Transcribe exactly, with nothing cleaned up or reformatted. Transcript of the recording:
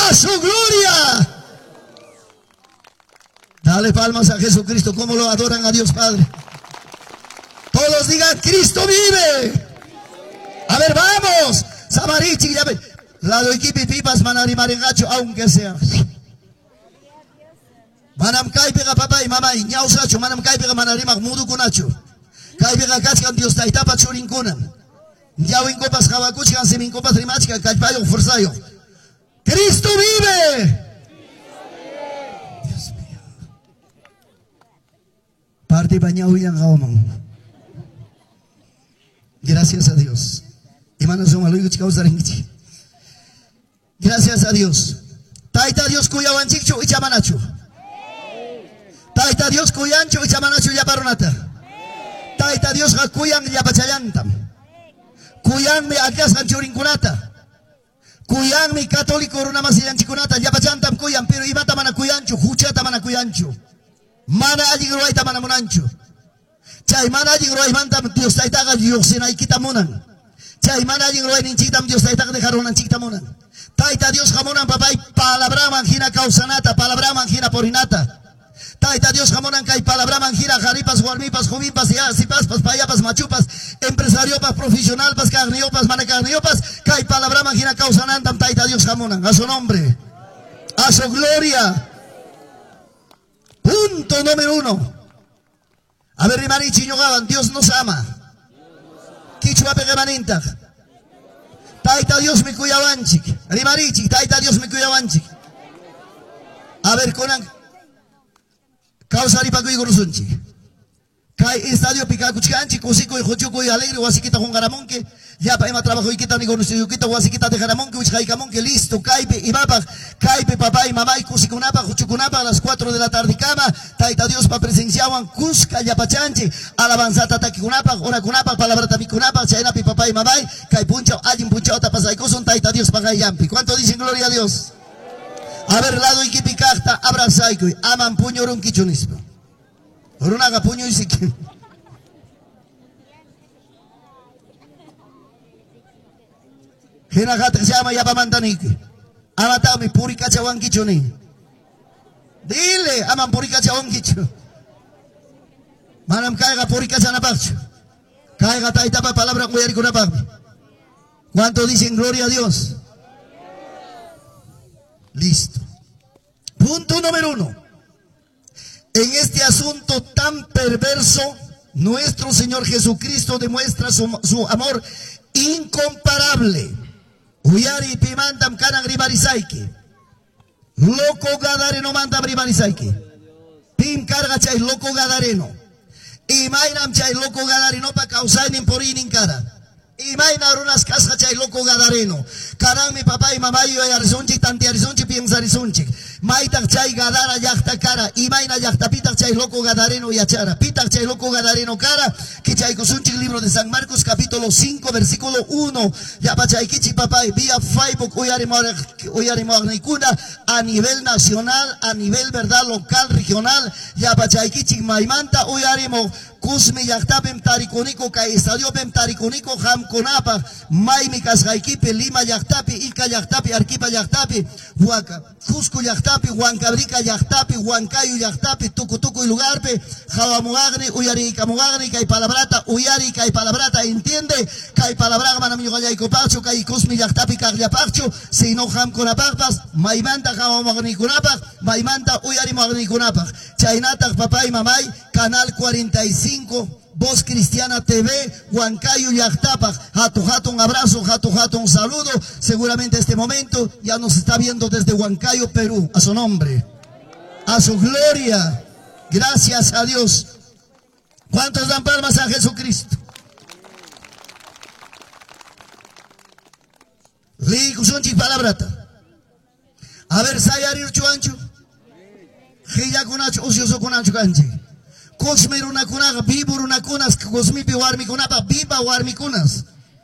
¡A su gloria! Dale palmas a Jesucristo, como lo adoran a Dios Padre. Todos digan, Cristo vive. A ver, vamos. Samarichi, ya ve. Lado equipi pipas manarimaringacho, aunque sea. Manam kaypiqa papay, mamay, ñawsachu, manam kaypiqa manarimaq mudukunachu. Kaypiqa kachkan Dios taytapa churinkuna. Ñawinkupas qawakuchkan, siminkupas rimachkan, kallpayuq, fuerzayuq. ¡Cristo vive! Dios mío. Parte ñawillan qawaman. Gracias a Dios. Gracias a Dios. Tayta Dios kuyawanchikchu ichamanachu. Tayta Dios kuyanchu ichamanachu llaparunata. Tayta Diosqa kuyan llapachallantam. Kuyanmi akasqan churinkunata. Kuyanmi católico runamasillanchikunata llapachantam kuyan, pero imata mana kuyanchu, huchata mana kuyanchu. Mana allin ruwayta mana munanchu. Chay mana allin ruwaymantam Dios taytaqa lluqsinaykita munan. Chay mana allin ruwayninchiktam Dios taytaqa dejarunanchikta munan. Tayta Dios hamunan papay palabraman hina kawsanata, palabraman hina porinata. Tayta Dios hamunan kay palabraman hina qaripas, warmipas, jovinpas, sipaspas, payapas, machupas, empresariopas, profesionalpas, carniopas, mana carniopas, kay palabraman hina kawsanantam Tayta Dios hamunan. A su nombre, a su gloria. Punto número uno. A ver, rimarichi ñuqawan, Dios nos ama. Kichwapi qimanintaq. Tayta Dios mi kuyawanchik. Rimarichik, Tayta Dios mi kuyawanchik. A ver, kunan kawsaripakuykurusunchik. Kay estadiopi kakuchkanchik, kusikuy, huchukuy, alegre, wasikita qunqaramunki, llapa ima trabajoykita, negocioykita, wasikita dejaramunki, wichqaykamunki, listo, kaypi imapaq, kaypi papay, mamay, kusikunapaq, huchukunapaq, a las cuatro de la tarde kama, Tayta Diospa presenciawan kuska llapachanchik, alabanzata takikunapaq, orakunapaq, palabrata mikunapaq, chaynapi papay, mamay, kay punchaw, allin punchawta pasaykusun, Tayta Diospa qayllanpi. ¿Cuánto dicen gloria a Dios? A ver, lado ikipi kaqta, abrazaykuy, aman puñurunkichu nispa. Runaqa puñuysiki. Hina qatiq llama yapamanta niyki. Amataqmi purikachawankichu nin. Dile, aman purikachawankichu. Manam kayqa purikachanapaqchu. Kayqa taytapa palabra uyarikunapaqmi. ¿Cuánto dicen gloria a Dios? Listo. Punto número uno. En este asunto tan perverso, nuestro Señor Jesucristo demuestra su, su amor incomparable. Uyari pimantam kanan ribarisaiki. Loco gadareno mantam ribarisaiki. Pim carga chay loco gadareno. Imaynam chay loco gadareno pa kawsaynin puriynin kara. Imayna runas kasqa chay loco gadareno. Karanmi papá y mamá yuyarisunchik, tantearisunchik, piensarisunchik. Maytaq chay gadara llaqta kara. Imayna llaqtapitaq chay loco gadareno yachara. Pitaq chay loco gadareno kara. Kichaykusunchik libro de San Marcos capítulo cinco versículo uno. Yapachaykichik papá vía Facebook uyarimuaqniykuna a nivel nacional, a nivel verdad local, regional. Yapachaykichik maymanta uyarimuq. Kusmi llaqtapim tarikuniko kay estadiopim tarikuniko qamkunapaq maymi kasqaykipi Lima llaqtapi, Ica llaqtapi, Arequipa llaqtapi, Huaca, Cusco llaqtapi, Huancabrica llaqtapi, Huancayo llaqtapi, tukutukuy lugarpi, hawamuqaqni, uyariykamuqaqni, kay palabrata uyari, kay palabrata entiende, kay palabraqa manam ñuqallaykupaqchu, kay Kusmi llaqtapi kaqllapaqchu, sino qamkunapaqpas, maymanta hawamuqaqnikunapaq, maymanta uyarimuqaqnikunapaq. Chaynataq papay, mamay, Canal cuarenta y cinco, Voz Cristiana T V, Huancayo llaqtapaq. Hatu hatu un abrazo, hatu hatu un saludo. Seguramente este momento ya nos está viendo desde Huancayo, Perú. A su nombre, a su gloria. Gracias a Dios. ¿Cuántos dan palmas a Jesucristo? Liykusunchik palabrata. A ver, sayarirchu anchu. Qillakunachu, usyusukunachu kanchik. Cosme runakunaqa, vivo runakunas, cosmipi warmikunapa, viva warmikunas.